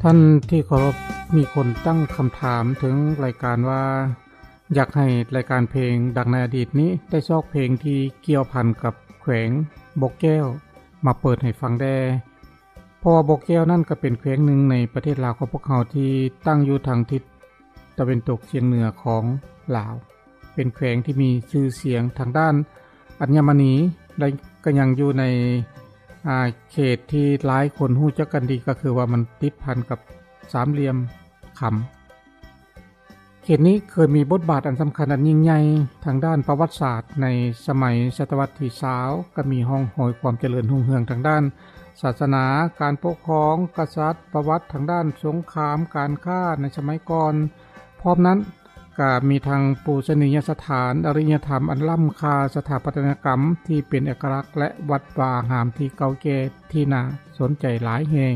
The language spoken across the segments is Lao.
ທ່ານທີ່ເຄົາລົບ, ມີຄົນຕັ້ງຄຳຖາມເຖິງລາຍການວ່າ ຢາກໃຫ້ລາຍການເພງດັ່ງໃນອະດີດນີ້ ໄດ້ຊອກເພງທີ່ກ່ຽວພັນກັບແຂວງບໍ່ແກ້ວມາເປີດໃຫ້ຟັງແດ່, ເພາະວ່າບໍ່ແກ້ວນັ້ນກໍເປັນແຂວງໜຶ່ງໃນປະເທດລາວຂອງພວກເຮົາ ທີ່ຕັ້ງຢູ່ທາງທິດຕາເວັນຕົກສຽງເໜືອຂອງລາວ. ເປັນແຂວງທີ່ມີຊື່ສຽງທາງດ້ານອັນຍະມະນີ ແລະ ກໍຍັງຢູ່ໃນ ອາ ເຂດທີ່ຫຼາຍຄົນຮູ້ຈັກກັນດີ ກໍຄືວ່າມັນຕິດພັນກັບສາມຫຼ່ຽມຄຳ. ເຂດນີ້ເຄີຍມີບົດບາດອັນສຳຄັນອັນຍິ່ງໃຫຍ່ທາງດ້ານປະຫວັດສາດໃນສະໄໝສະຕະວັດທີຊາວ ກໍມີຮ່ອງຮອຍຄວາມຈະເລີນຮຸ່ງເຮືອງທາງດ້ານສາສະໜາ, ການປົກຄອງ, ກະສັດ, ປະຫວັດທາງດ້ານສົງຄາມ, ການຄ້າໃນສະໄໝກ່ອນ. ພ້ອມນັ້ນ ກະມີທັງປູຊະນີຍະສະຖານ, ອາລິຍະທຳອັນລ້ຳຄ່າ, ສະຖາປັດຕະຍະກຳທີ່ເປັນເອກະລັກ ແລະ ວັດວາອາຮາມທີ່ເກົ່າແກ່ທີ່ໜ້າສົນໃຈຫຼາຍແຫ່ງ.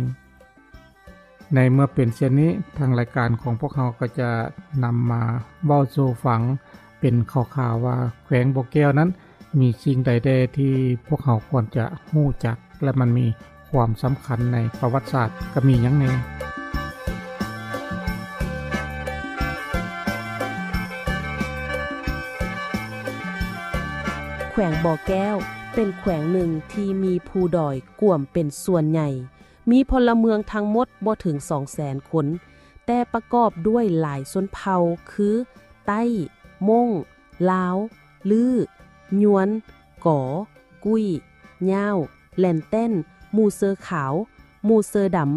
ໃນເມື່ອເປັນເຊັ່ນນີ້, ທາງລາຍການຂອງພວກເຮົາກໍຈະນຳມາເວົ້າສູ່ຟັງເປັນຂ່າວໆວ່າ ແຂວງບໍ່ແກ້ວນັ້ນ ມີສິ່ງໃດແດ່ທີ່ພວກເຮົາຄວນຈະຮູ້ຈັກ ແລະ ມັນມີຄວາມສຳຄັນໃນປະຫວັດສາດ ກະມີຫຍັງແດ່? ແຂວງບໍ່ແກ້ວເປັນແຂວງໜຶ່ງທີ່ມີພູດອຍກວມເປັນສ່ວນໃຫຍ່, ມີພົນລະເມືອງທັງໝົດບໍ່ເຖິງສອງແສນຄົນ, ແຕ່ປະກອບດ້ວຍຫຼາຍຊົນເຜົ່າຄື ໄຕ້, ມົ້ງ, ລາວ, ລື້, ຍວນ, ກໍ, ກຸ້ຍ, ຍາວ, ແລນແຕັນ, ມູເຊີຂາວ, ມູເຊີດຳ,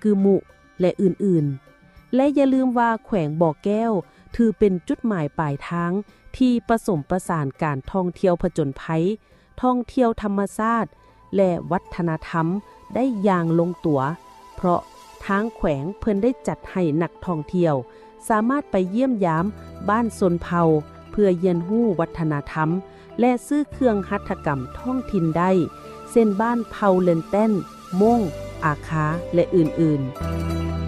ກືມຸ ແລະ ອື່ນໆ. ແລະ ຢ່າລືມວ່າແຂວງບໍ່ແກ້ວຖືເປັນຈຸດໝາຍປາຍທາງທີ່ປະສົມປະສານການທ່ອງທ່ຽວຜະຈົນໄພ, ທ່ອງທ່ຽວທຳມະຊາດ ແລະ ວັດທະນະທຳໄດ້ຢ່າງລົງຕົວ, ເພາະທາງແຂວງເພິ່ນໄດ້ຈັດໃຫ້ນັກທ່ອງທ່ຽວສາມາດໄປຢ້ຽມຢາມບ້ານຊົນເຜົ່າ ເພື່ອຮຽນຮູ້ວັດທະນະທຳ ແລະ ຊື້ເຄື່ອງຫັດຖະກຳທ້ອງຖິ່ນໄດ້ ເຊັ່ນ ບ້ານເຜົ່າເລັນແຕັນ, ມົ້ງ, ອາຄາ ແລະ ອື່ນໆ.